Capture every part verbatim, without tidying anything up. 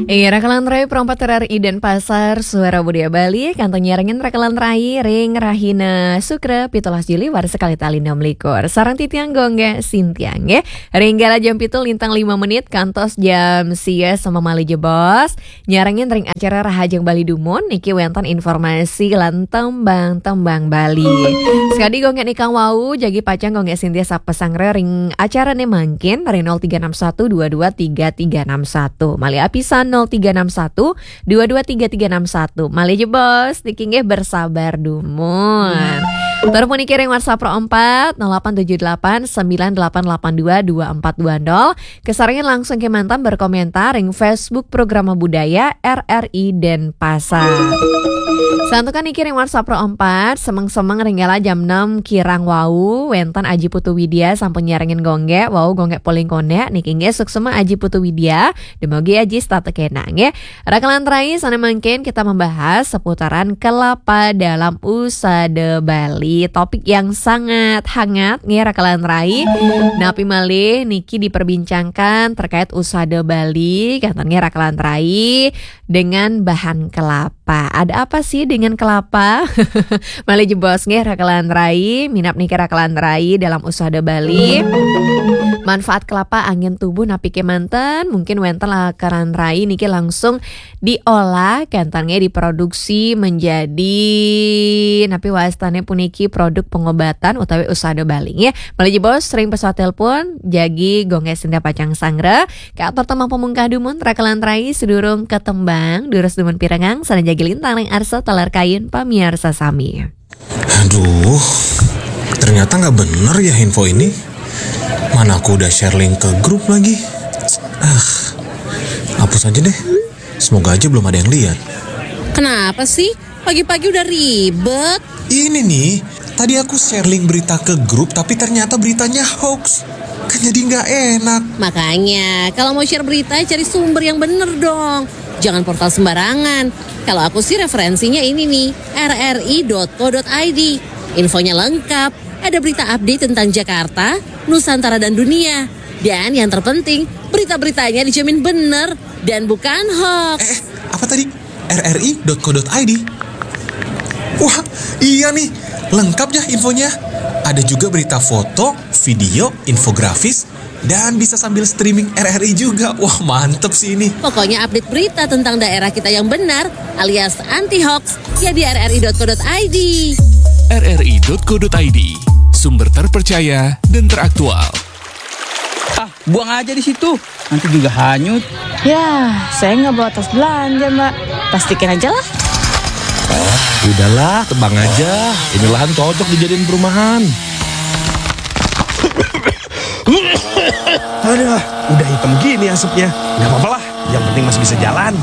Iya, Rakalan Rai, perempat R R I Denpasar, Suara Budaya Bali, kantun nyarengin Rakalan Rai, ring rahina Sukra, pitulas Juli, warsa kalih tali enam likur. Sareng titiang Gongga Sintiang, nggih. Ring galah jam pitu lintang lima menit, kantos jam sia sama malih jebos. Nyarengin ring acara Rahajeng Bali Dumun, niki wénten informasi lan tembang-tembang Bali. Sekadi Gongga nikang wau, jagi pacang Gongga Sintia sapasanggra ring acarane mangkin, ring nol tiga enam satu dua dua tiga tiga enam satu. Malih apisan nol tiga enam satu dua dua tiga tiga enam satu. Malih jebos, niki nggih bersabar dumun. Tur puniki ring WhatsApp Pro empat, nol delapan tujuh delapan sembilan delapan delapan dua dua empat dua nol. Kasarengin langsung kemanten berkomentar ring Facebook Programa Budaya R R I Denpasar. Santukan niki ring WhatsApp Pro empat, semeng-semeng ring galah jam enam kirang wau, wénten Aji Putu Widya sampun nyarengin Gongga, wau Gongga paling konek, niki nggih suksma Aji Putu Widya, dumugi Aji setata kenak, nggih. Rakalan Rai, sane mangkin kita membahas seputaran kelapa dalam usada Bali. Topik yang sangat hangat, nggih, Rakalan Rai. Napi malih niki diperbincangkan terkait usada Bali, kenten nggih, Rakalan Rai, dengan bahan kelapa. Ada apa sih dengan kelapa? Malih jebos nggih, Rakalan Rai, minab niki Rakalan Rai dalam usada Bali. Manfaat kelapa anggén tubuh napi kemanten, mungkin wénten Rakalan Rai niki langsung diolah, kenten nggih, diproduksi menjadi napi wastane puniki produk pengobatan utawi usada Bali, nggih. Malih jebos ring pesawat telepon, jagi Gongga Sintia pacang sanggra. Katur tembang pamungkah dumun, Rakalan Rai, sedurung katembang, durus dumun pirengang, sane jagi lintang ring arsa taler kayun pamiarsa sami. Aduh, ternyata nggak bener ya info ini. Mana aku udah share link ke grup lagi. Ah, hapus aja deh. Semoga aja belum ada yang lihat. Kenapa sih? Pagi-pagi udah ribet. Ini nih, tadi aku share link berita ke grup, tapi ternyata beritanya hoax. Kan jadi nggak enak. Makanya, kalau mau share berita, cari sumber yang bener dong. Jangan portal sembarangan. Kalau aku sih referensinya ini nih, R R I dot co dot I D. Infonya lengkap, ada berita update tentang Jakarta, Nusantara dan dunia. Dan yang terpenting, berita-beritanya dijamin bener dan bukan hoax. Eh, eh, apa tadi? R R I dot co dot I D. Wah, iya nih, lengkap ya infonya. Ada juga berita foto, video, infografis, dan bisa sambil streaming R R I juga. Wah, mantep sih ini. Pokoknya update berita tentang daerah kita yang benar alias anti hoax ya di R R I dot co dot I D. R R I dot co dot I D, sumber terpercaya dan teraktual. Ah, buang aja di situ. Nanti juga hanyut. Ya, saya nggak bawa tas belanja, Mbak. Plastikin aja lah. Udahlah, tebang aja. Ini lahan cocok dijadiin perumahan. Aduh, udah hitam gini asapnya. Nggak apa-apa lah, yang penting masih bisa jalan.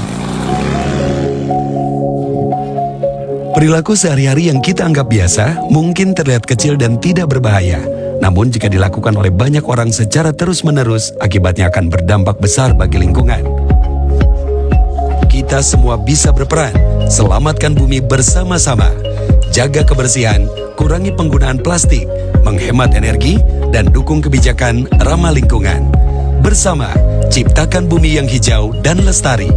Perilaku sehari-hari yang kita anggap biasa mungkin terlihat kecil dan tidak berbahaya. Namun jika dilakukan oleh banyak orang secara terus-menerus, akibatnya akan berdampak besar bagi lingkungan. Kita semua bisa berperan. Selamatkan bumi bersama-sama. Jaga kebersihan, kurangi penggunaan plastik, menghemat energi, dan dukung kebijakan ramah lingkungan. Bersama, ciptakan bumi yang hijau dan lestari.